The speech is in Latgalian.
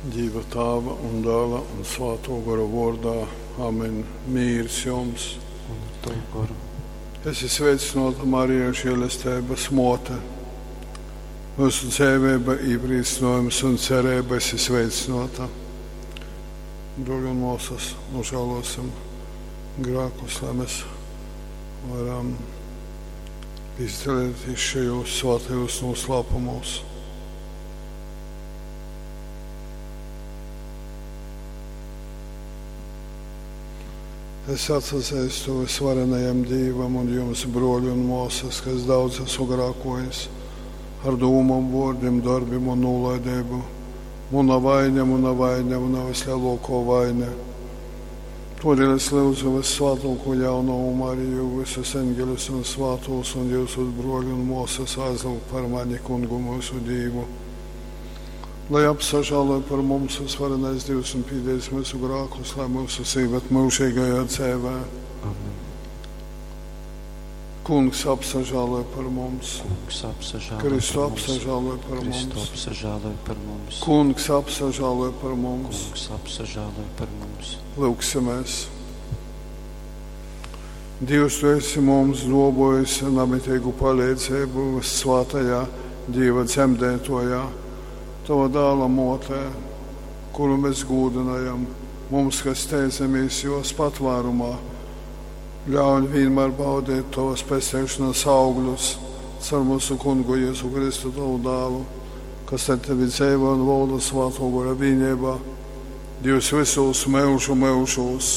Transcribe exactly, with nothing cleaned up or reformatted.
Dīva Tāva un Dāla un Svātō Gora vōrdā. Amen. Mīrs jums. Un ar tavu goru. Esi sveicināta, Marija, žēlesteibas mōte. Mūsu dzeivība, iepriecinājums un cerība esi sveicināta. Brōļi un māsas, nožēlosim grēkus, lai mēs varam izdalīties šajos svētajos noslēpumos. Es atsazīstu visvarenajam Dievam un jums, brōļi un māsas, kas daudz esmu grēkojis ar dūmām, vārdiem, darbiem un nolaidību. Mana vaina, mana vaina, mana vislielākā vaina. Todēļ es lūdzu vissvētāko jaunavu Mariju, visus eņģeļus un svētos un jūsu brōļi un māsas aizlūgt par mani kungu mūsu Dievu. Lai apsažāloja par mums visvarenais Dievs un pīdēs mūsu grēkus, lai mūsu sīvet mūžīgajā dzīvē. Amen. Kungs apsažāloja par mums. Kungs apsažāloj Kristu par mums. apsažāloja par Kristu mums. apsažāloj par mums. Kungs apsažāloja par mums. Kungs apsažāloj par mums. Lūksimies. Dievs, tu esi mums dobojis namitīgu palīdzību svētajā Dieva dzemdētojā, tava dēla motē, kuru mēs gūdinājam, mums, kas steidzamies jos patvērumā. Ļauj vienmēr baudīt tavas pestīšanas augļus caur mūsu kungu Jēzu Kristu tavu dēlu, kas ar tevi dzīvo un valda svēto gara vienībā, Dievs visos mūžu mūžos.